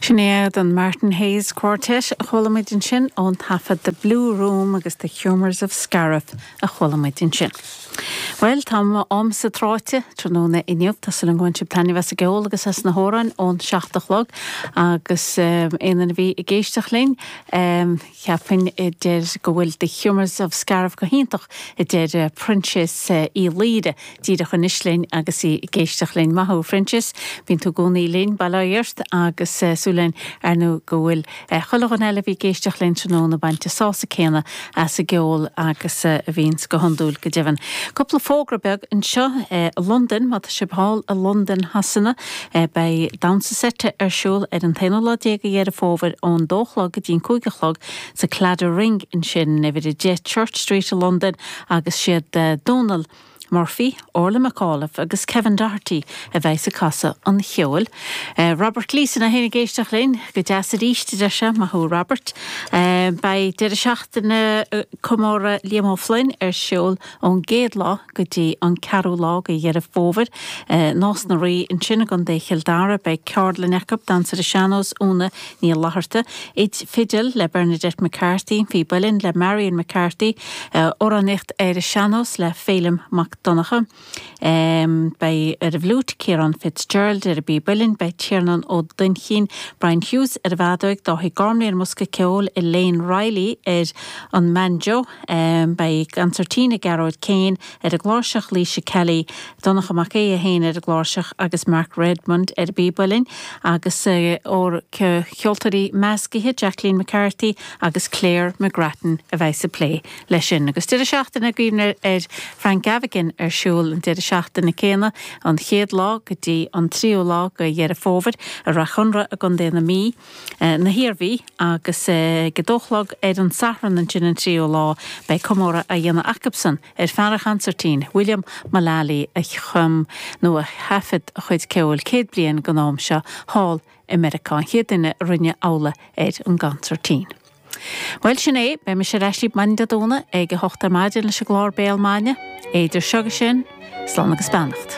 Sin iad an Martin Hayes Quartet a chuala muid ansin ón taifead The Blue Room agus The Humours of Scariff a chuala muid ansin. Bhuel, tá m'amsa tráite tráthnóna inniu. Tá súil agam go mbain sibh taitneamh as an gceol agus as na hamhráin ón seacht a chlog agus aon duine a bhí ag éisteacht linn, Cheapfainn a deir go bhfuil The Humours of Scariff go hiontach, a deir Proinsias Uí Laoire díreach anois linn agus í ag éisteacht linn. Maith thú, a Phroinsias. Bíonn tú i gcónaí linn, bail ó Dhia ort, agus súil againn, ar ndóigh, go bhfuil chuile dhuine eile a bhí ag éisteacht linn tráthnóna ag baint an sásamh céanna as an gceol agus a bhíonns go hiondúil, go deimhin. Cúpla fógra beag anseo i Londain, má tá sibh thall i Londain Shasana, Beidh damhsa seite ar siúl ar an t-aonú lá déag de Dheireadh Fómhair ón dó a chlog go dtí an 5 a chlog sa Claddagh Ring ansin, uimhir 10 Church Street i Londain agus siad Dónal Murphy, Orla McAuliffe agus Kevin Doherty a bheidhs ag casadh an cheoil. Robert Gleeson é féin ag éisteacht linn, go deas arís a deir sé, maith thú Robert. Beidh deireadh seachtaine comóradh Liam Ó Floinn ar siúl ón gcéad lá go dtí an ceathrú lá de Dheireadh Fómhair. Nás na Rí ansin i gContae Chill Dara. Beidh ceardlann acu, damhsa ar an sean-nós, Úna Ní Fhlatharta, fidil le Bernadette McCarthy, píb uilleann le Marion McCarthy, amhránaíocht ar an sean-nós le Féilim Mac Donncha. Beidh ar an bhfliúit Ciarán Fitzgerald, ar an bpíb uilleann beidh Tiarnán Ó Duinnchinn, Brian Hughes ar an bhfeadóig, Dáithí Gormley ar an mbosca ceoil, Elaine Reilly ar an mbanjo. Beidh consairtín ag Gearóid Kane ar an gcláirseach, Laoise Kelly, Donncha Mac Aodha féin ar an gcláirseach agus Mark Redmond ar an bpíb uilleann agus ceoltóirí meascaithe Jacqueline McCarthy agus Claire McGrattan a bheidh ag plé leis sin. Agus deireadh seachtaine i gcuimhne ar Frank Gavigan ar siúl an deireadh seachtaine céanna, an chéad lá go dtí an tríú lá de Dheireadh Fómhair i Rath Chonra i gContae na Mí, na hIarmhí, agus ag a dó a chlog ar an Satharn ansin an tríú lá beidh comóradh á dhéanamh acubsan ar fear an chansairtín, William Mullally a chum nó a thaifead a chuid ceoil 100 bliain den am seo thall i Meiriceá, an chéad duine a rinne amhlaidh ar an gconsairtín. Bhuel, sin é, beidh mise ar ais libh maidin Dé Domhnaigh ag a hocht ar maidin leis an gclár Béal Maidine. Idir seo agus sin, slán agus beannacht.